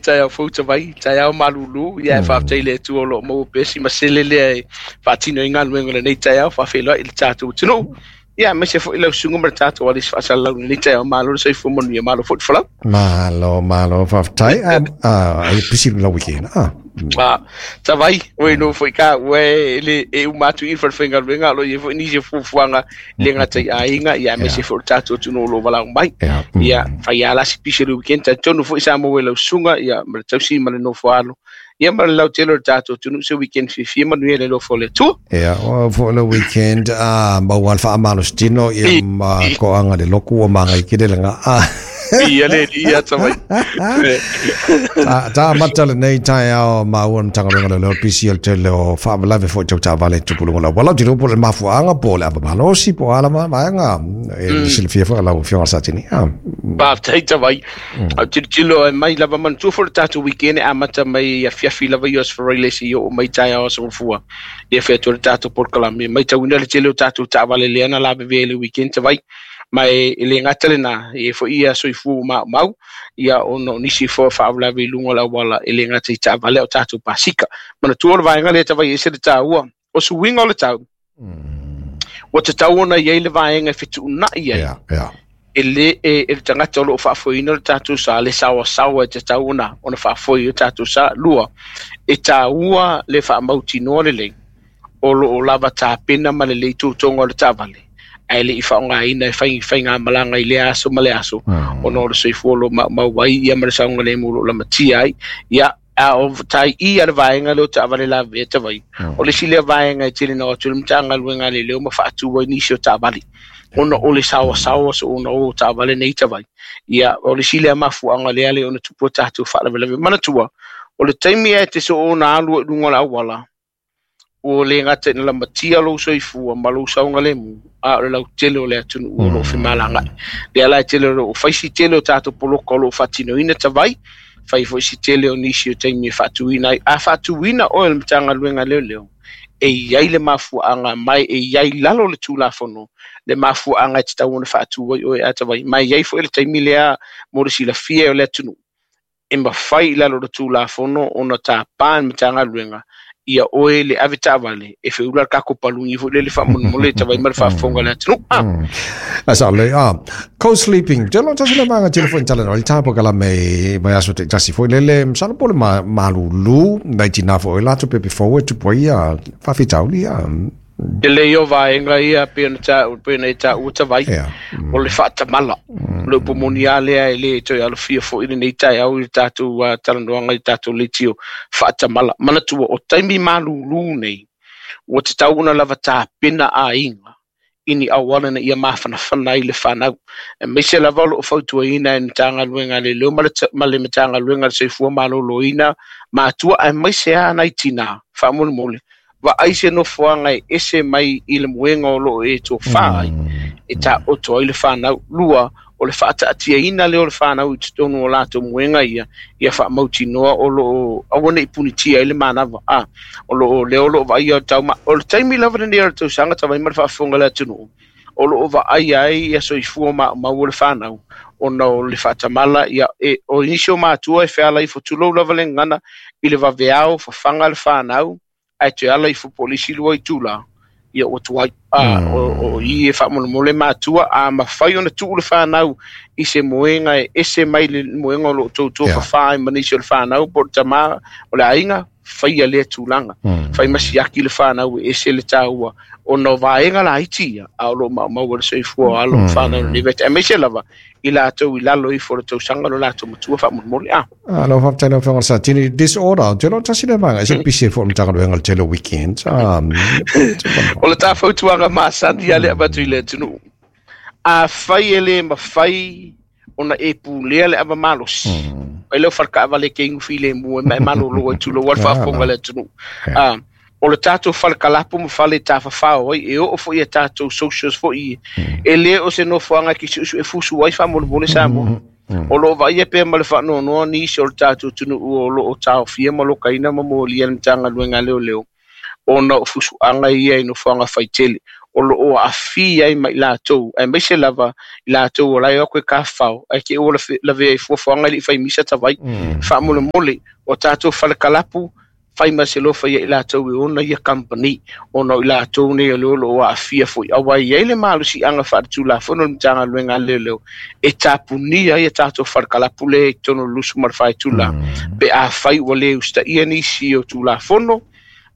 taeao fou Tavai, taeao malūlū, ia e faafetai i le Atua o lo o maua pea si masele lea e faatino ai galuega o lenei taeao, faafeiloai i le tatou atunuu. Ia, aemaise foi lau susuga ma le tatou alisi faasalalau i lenei taeao. Malo le soifua manuia, malo foi le folau. Malo, malo, faafetai. Ah, ai pisi lau weekend. Ah. Ah, Tavai, oi no foi ka ua e le e uma atu i le falefaigaluega, o lo o i ai foi nisi o fuafuaga le gata i aiga, ia aemaise foi o le tatou atunuu o lo o valaau mai. Ia, fai lava la si pisi o le weekend, talitonu foi sa maua e lau susuga, ia, ma le tausi ma le nofo alo, ia ma le lautele o le tatou atunuu se weekend fiafia manuia i le alofa o le Atua. Ia, o foi le weekend, a maua le faamalositino, ia ma toaga le lotu ua magai tele le gaa. Ia le alii ia Tavai. Ta, ta amata lenei taeao maua le Matagaluega o Leoleo pisi o le tele o faalavelave foi tau taavale tupu i luga o le auala. Ou te iloa po o le mafuaaga po o le ava malosi po o a lava vaega e silafia foi e lau Afioga Satini. Ah. Faafetai Tavai. Au tilotilo e mai lava manatua foi le tatou weekend e amata mai i afiafi lava i Aso Faraile seia oo mai taeao Aso Gafua. Ia fai atu ai le tatou polokalame. Matauina le tele o tatou taavale lea na lavevea i le weekend Tavai. Ma e le gata lena, e i ai foi ia soifua ua maumau, ia ona o nisi foi o faalavelave i luga o le auala e le gata i taavale a o tatou pasika. Manatua o le vaega lea Tavai e ese le taua, o suiga o le tau, ua tatau ona i ai le vaega e fetuunai ai. E le e, e le tagata o lo o faafoeina le tatou sa, le saoasaoa e tatau ona faafoe ai o tatou sa. Lua, e taua le faamautinoa lelei o lo o lava tapena ma lelei totoga o le taavale, ae le i faaaogaina e fai faigamalaga i lea aso ma lea aso, ona o le soifua o lo o maumau ai ia ma le saogalemu o lo o lamatia ai. Ia, a o tai i a le vaega lea o taavale lavevea Tavai, o le isi lea vaega e tele na o atu le Matagaluega a Leoleo ma faatu ai nisi o taavale, ona o le saoasaoa soona o taavale nei Tavai. Ia, o le isi lea mafuaaga lea le ona tupu o tatou faalavelave. Manatua, o le taimi e te soona alu ai i luga o le auala, ua le gata ina lamatia lou soifua ma lou saogalemu, a o le lautele o le atunuu o lo o femalagaai. Lea la e tele o lo o fai si tele o tatou poloka o lo o faatinoina Tavai, fai foi si tele o nisi o taimi e faatuina ai. A faatuina oe e le Matagaluega a Leoleo, e i ai le mafuaaga mai, e i ai i lalo o le Tulafono le mafuaaga e tatau ona faatu ai oe a Tavai. Ma e i ai foi le taimi lea mo le silafia e o le atunuu, e mafai i lalo o le Tulafono ona tapa e le Matagaluega ia oe le ave taavale e feula le tatou paluni foi lele faamolemole e tavai ma le faafofoga a le atunuu. Ah. A sa le ah co-sleeping te lo tasi le manga tele foi tala no tapo kala me mai aso te tasi foi lele msalo pole ma malulu nai tina foi la tu pepe fo tu poi a fa fitauli a Te lei o vaega ia pei ona taua, pei ona e taua Tavai, o le faatamala. O le upu moni lava lea e le toe alofia foi lenei taeao i le tatou talanoaga i le tatou leitio faatamala. Manatua, o taimi malūlū nei, ua tatau ona lava tapena aiga i ni auala ina ia mafanafana ai le fanau. Aemaise lava o lo o fautuaina e le Matagaluega a Leoleo ma le Matagaluega a le Soifua Maloloina matua aemaise lava nai tinā, faamolemole, vaai se nofoaga e ese mai i le moega o lo o e tofa ai, e taoto ai le fanau. Lua, o le faataatiaina lea o le fanau i totonu o latou moega ia, ia faamautinoa o lo o aua ne i punitia ai le manava. A, o lo o lea o lo o vaaia o le tau, o le taimi lava lenei o le tausaga tavai ma le faafofoga a le atunuu, o lo o vaaia ai ia soifua maumau o le fanau, ona o le faatamala, ia, e, o nisi o matua e feala ifo, tulou lava le gagana, i le vaveao, fafaga le fanau, ae toe ala ifo po o le isi lua itula, ia ua tuai. A, o i e faamolemole matua, a mafai ona tuu le fanau i se moega e ese mai le moega o lo o toutou fafā ai ma nisi o le fanau, po o le tama o le aiga, faia lea tulaga. Fai ma siaki le fanau e ese le taua, ona o vaega laiti ia, a o lo o maumau ai le soifua o alo ma fanau i lenei vaitaimi, aemaise lava i latou i lalo ifo o le tausaga lo latou matua faamolemole. A. Ah, lau faafetai lau Afioga i le Satini. Disorder, ou te iloa tasi lea vaega, e ese le pisi ai foi o le Matagaluega i le tele o weekends. Ah, O le ta fautuaga masani lava lea e avatu i le atunuu, afai e le mafai ona e pulea le ava malosi, fai lea o faletaavale e te inu filemu ai ma e malolo ai tulou lava le faafofoga a le atunuu. Ah, o le tatou fale kalapu ma fale tafafao ai, e oo foi i a tatou socials foi ia, e le o se nofoaga e te suesue fusu ai faamolemole Samoa. O lo o vaaia pea ma le faanoanoa nisi o le tatou atunuu o lo o taofia ma lokaina ma molia e le Matagaluega a Leoleo ona o fusuaga ia i nofoaga faitele. O loo aafia ai ma i latou, aemaise lava i latou o la e o atu e tafafao, ae te i ua lavea i fuafuaga e le i fai misa tavai. Faamolemole, o tatou falekalapu, fai ma se alofa ia i latou e ona ia kamupani, ona o i latou nei o le o loo aafia foi. Aua e i ai le malosiaga faaletulafono o le Matagaluega a Leoleo e tapunia ai a tatou falekalapu lea i totonu o le 24 itula, pe afai ua le usitaia nisi o Tulafono.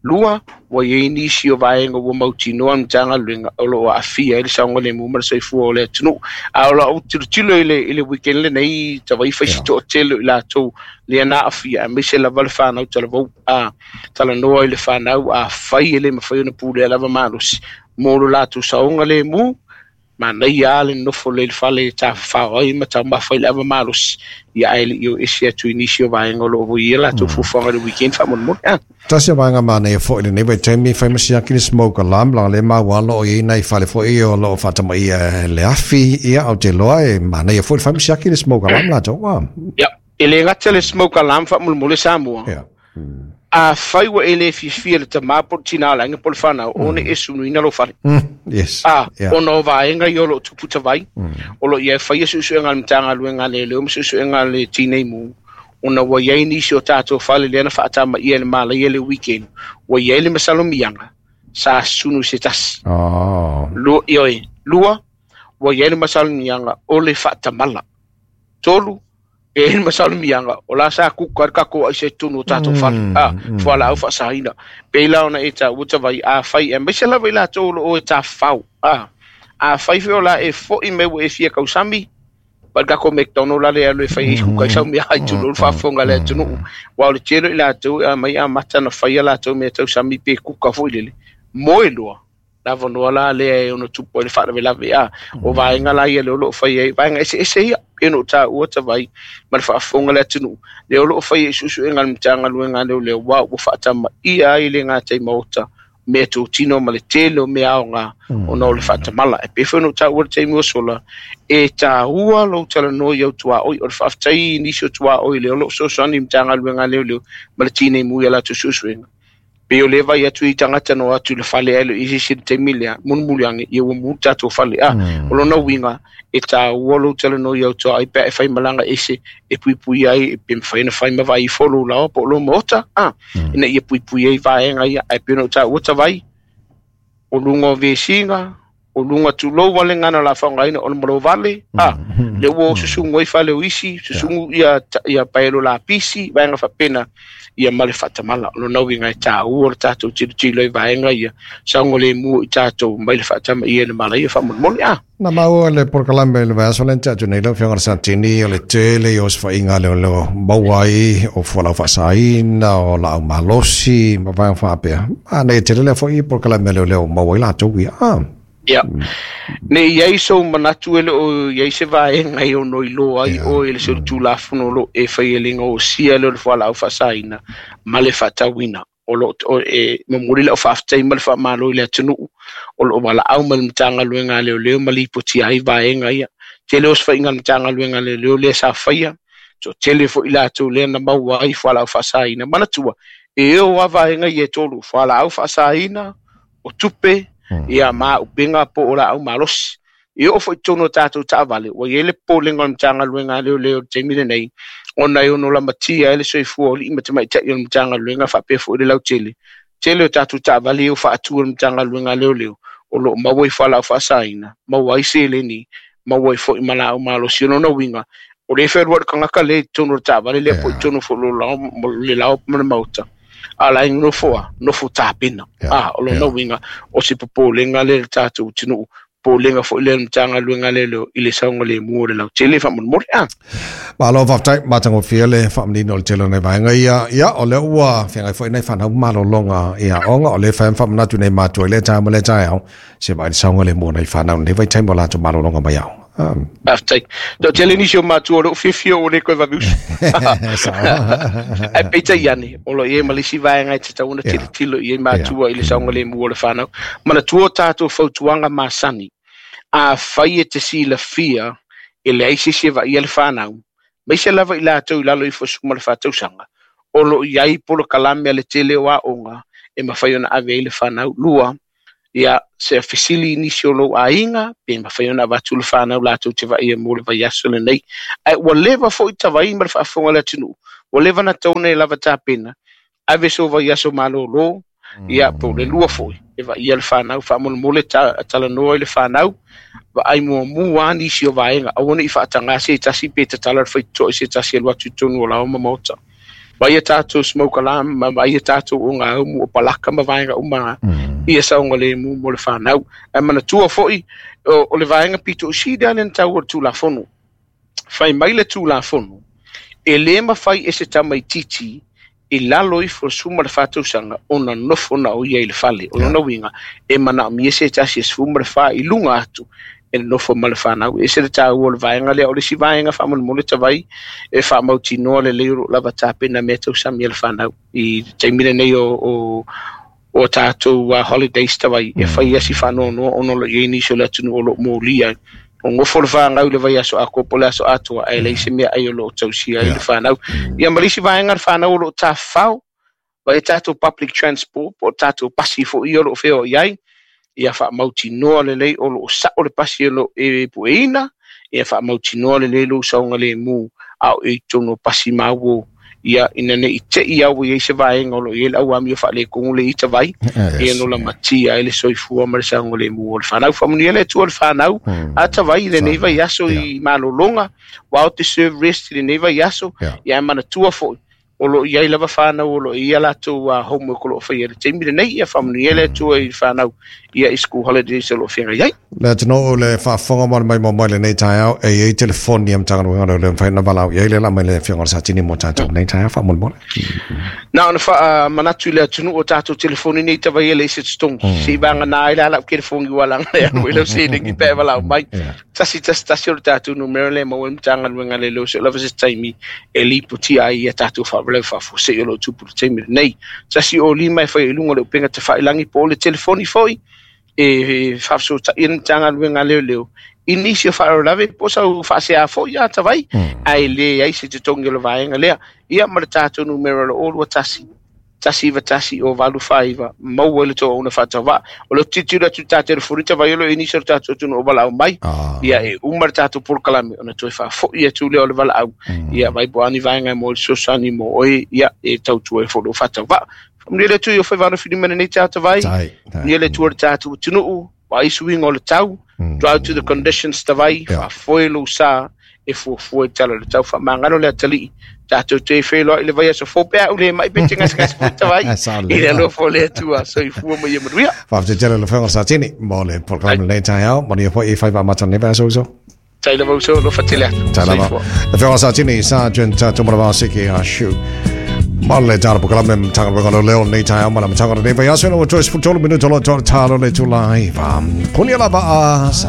Lua, ua i ai nisi o vaega ua mautinoa le Matagaluega o lo o aafia ai le saogalemu ma le soifua o le atunuu. A o lau tilotilo i le weekend lenei, tavai fai si toatele o i latou lea na aafia, aemaise lava le fanau talavou, a talanoa i le fanau, afai e le mafai ona pulea lava malosi mo lo latou saogalemu, manaia lava le nofo lelei i le fale e tafafao ai ma taumafa i le ava malosi, ia ae le i o ese atu i nisi o vaega o lo o ia latou fuafuaga i le weekend faamolemole. Tasi o vaega manaia foi i lenei vaitaimi, fai ma siaki le smoke alarm, leaga lea maua o lo o i ai nai fale foi o lo o faatamaia e le afi, ia ou te iloa e manaia foi le fai ma siaki le smoke alarm latou. Ia, e le gata le smoke alarm faamolemole Samoa. Ia. Afai ua e le fiafia i le tama po o le tina o le aiga po o le fanau, ona e sunuina lou fale. Yes. Ona o vaega ia o lo o tupu tavai, o lo o i ai faia suesuega a le Matagaluega a Leoleo ma suesuega a le Tinei Mu, ona ua i ai nisi o tatou fale lea na faatamaia i le malaia i le weekend, ua i ai le masalomiaga sa sunu se tasi. Ioe. Lua, ua i ai le masalomiaga o le faatamala. Tolu, e i ai le masalomiaga o la sa kuka le tatou aisa i totonu o tatou fale, fualaau faasaina. Pei la ona e taua tavai, afai, aemaise lava i latou o lo o e tafafao, afai foi o la e foi mai ua e fia tausami, ma le tatou McDonald la le alu e fai ai kuka i sau mea ai tulou le faafofoga a le atunuu. Aua o le tele o i latou e aumai amata ona fai a latou mea tausami pe kuka foi lele, moe loa, le avanoa la lea e ono tupu ai le faalavelave. O vaega la ia lea o lo o fai ai, vaega eseese ia, pei ona ou taua tavai ma le faafofoga a le atunuu, lea o lo o fai ai suesuega a le Matagaluega a Leoleo, aua ua faatamaia ai le gatai maota mea totino ma le tele o mea aoga ona o le faatamala. E pei foi ona ou taua i le taimi ua sola, e taua lou talanoa i au tuaoi. O le faafetai i nisi o tuaoi lea o lo o fesoasoani i le Matagaluega a Leoleo ma le Tinei Mu i a latou suesuega. Pei o lea vaai atu i tagata na o atu i le fale ae le o i ai se isi i le taimi lea, mulimuli ane, ia ua mu le tatou fale. O lona uiga, e taua lou talanoa i au tuaoi pe a e fai malaga ese e puipui ai, pe mafai ona fai ma vaai ifo lou laoa po o lou maota, ina ia puipui ai vaega ia. Ae pei ona ou taua tavai, o luga o vesiga, o luga tulou wale ngana la faogaina o le malovale, le ua o susugu ai fale o isi, susugu ia, ia paelo lapisi, vaega faapena, ia ma le faatamala. O lona uiga e taua le tatou tilotilo i vaega ia, saogalemu i tatou mai le faatamaia i le malaia faamolemole. Na maua le polokalame i le vaiaso lea na tea atu nei lau Afioga i le Satini, o le tele o osofaiga a leoleo maua ai o fualaau faasaina, o laau malosi ma vaega faapea. Manaia tele lea foi polokalame a leoleo maua ai latou ia. Ia. Ne i ai sou manatu e le o i ai se vaega e ono iloa ai oe i le solitulafono o lo o e faia le gaosia lea o le fualaau faasaina ma le faatauina. O lo o e momoli lau faafetai ma le faamalo i le atunuu o lo o valaau mai le Matagaluega a Leoleo ma lipotia ai vaega ia. Tele osofaiga a le Matagaluega a Leoleo lea sa faia, toatele foi latou lea na maua ai fualaau faasaina. Manatua, e o lava vaega ia e tolu, fualaau faasaina, o tupe, ia ma auupega po o laau malosi. E oo foi i totonu o tatou taavale, ua i ai le popolega o le Matagaluega a Leoleo i le taimi lenei, ona e ono lamatia ai le soifua o alii ma tamaitai o le Matagaluega faapea foi le lautele. Tele o tatou taavale ia ua faatu e le Matagaluega a Leoleo, o lo o maua ai fualaau faasaina, maua ai seleni, maua ai foi ma laau malosi. O lona uiga, o lea e fealuai le tagata lea i totonu o le taavale lea po o i totonu foi o le lao ma le maota, a la e nofo a, nofo tapena. O lona uiga, o se popolega lea i le tatou atunuu, popolega foi lea i le Matagaluega a Leoleo i le saogalemu o le lautele faamolemole. Malo faafetai, matagofie le faamanino o le tele o nai vaega ia. Ia, o lea ua feagai foi nai fanau malologa i aoga, o lea e fai ma faamanatu nei matua i lea taeao ma lea taeao, se vaai le saogalemu o nai fanau i lenei vaitaimi o latou malologa mai aoga. Faafetai. Toatele nisi o matua o lea ua fiafia ua le toe vave usu. Ae peitai ane, o lo o i ai ma le isi vaega e tatau ona tilotilo i ai matua i le saogalemu o le fanau. Manatua o tatou fautuaga masani, afai e te silafia e leai se isi e vaaia le fanau, aemaise lava i latou i lalo ifo o le 14 tausaga, o lo o i ai polokalame a le tele o aoga e mafai ona ave ai le fanau. Lua, Ia se fesili i nisi o lou aiga pe mafai ona avatu le fanau latou te vaaia mo le vaiaso lenei. Ae ua leva foi tavai ma le faafofoga a le atunuu, ua leva na tatau ona e lava tapena, ave sou vaiaso malōlō, ia po o le lua foi e vaaia le fanau, faamolemole talanoa i le fanau, vaai muamua lava nisi o vaega, aua ne i faatagā se tasi pe tatala le faitotoa i se tasi e alu atu i totonu o laoa ma maota. Vaaia tatou smoke alarm, ma vaaia tatou ogaumu o palaka ma vaega uma ia saogalemu mo le fanau. Ae manatua foi, o le vaega pito i sili lava lea na taua i le Tulafono. Fai mai le Tulafono, e lē mafai e se tamaitiiti i lalo ifo o le 14 tausaga ona nofo na o ia i le fale. O lona uiga, e manaomia se tasi e 14 i luga atu e nofo ma le fanau. E ese le taua o le vaega lea, o le isi vaega faamolemole tavai e faamautinoa lelei o loo lava tapena mea tausami a le fanau i le taimi lenei o tatou holidays tavai, e fai asi faanoanoa ona o lo o i ai nisi o le atunuu o lo o molia ai. O gofo le fanau i le vaiaso atoa po o le aso atoa, ae leai se meaai o lo o tausia ai le fanau. Ia ma le isi vaega le fanau o lo o tafafao, vaai tatou public transport po o tatou pasi foi ia o lo o feoai ai, ia faamautinoa lelei o lo o sao le pasi o lo o e pueina, ia faamautinoa lelei lou saogalemu a o e i totonu o pasi ma uo, ia ina ne i te i au i ai se vaega o lo o i ai le auamio faaletonu le ita vai, ia no lamatia ai le soifua ma le saogalemu o le fanau. Faamanuia le Atua i le fanau, a tavai i lenei vaiaso i malologa, ua o te serve rest i lenei vaiaso, ia manatua foi, o lo o i ai lava fanau o lo o i ai a latou homework o lo o faia i le taimi lenei, ia faamanuia le Atua i le fanau ia i school holidays o lo o feagai ai. Le atunuu o le faafofoga ma le maimoa mai lenei taeao, e i ai telefoni a Matagaluega o Leoleo e mafai ona valaau i ai le la mai le Afioga i le Satini mo tatou lenei taeao faamolemole. Na ona faamanatu i le atunuu o tatou telefoni nei tavai e leai se totogi. Seivagana ai la lau telefoni ua laga e alu ai lau seleni pe a e valaau mai. 111 o le tatou numera lea e maua ai Matagaluega a Leoleo se'o lava se taimi e lipotia ai ia tatou faalavelave faafuasei o lo o tupu i le taimi lenei. 105 e fai ai i luga o le upega tafailagi po o le telefoni foi e faafesootai ai le Matagaluega a Leoleo i nisi o faalavelave po o sau faasea foi a tavai, ae leai se totogi o le vaega lea. Ia ma le tatou numera o le 021 191 o 849, maua ai le toauna faatauvaa. O le tilotilo atu i le ta telefoni tavai o lo o i ai nisi o le tatou atunuu o valaau mai, ia e uma le tatou polokalame ona toe faafoi atu lea o le valaau, ia vai po o a ni vaega e maua ai le fesoasoani mo oe, ia e tautua ai foi lou faatauvaa. Faamanuia le Atua i o faivano filima i lenei taeao tavai, faamanuia le Atua i le tatou atunuu, vaai suiga o le tau, drive to the conditions tavai, faafoe lou sa e fuafua i tala o le tau. Faamagalo le atalii, tatou te feiloai i le vaiaso fou pe a ou le mai pe te gasegase foi tavai, i le alofa o le Atua, soifua ma ia manuia. Faafetai tele lau Afioga Satini mo le polokalame lenei taeao, manuia foi i faiva amata o lenei vaiaso uso. Tai lava uso, alofa tele atu. Tai lava. Soifua. Afioga Satini, Sergeant Tumanavao Siki Ashu. Ma le tala polokalame Matagaluega o Leoleo lenei taeao ma le amataga o lenei vaiaso ina ua toe 13 minute o lo o talo le itula 9. Punia lava a.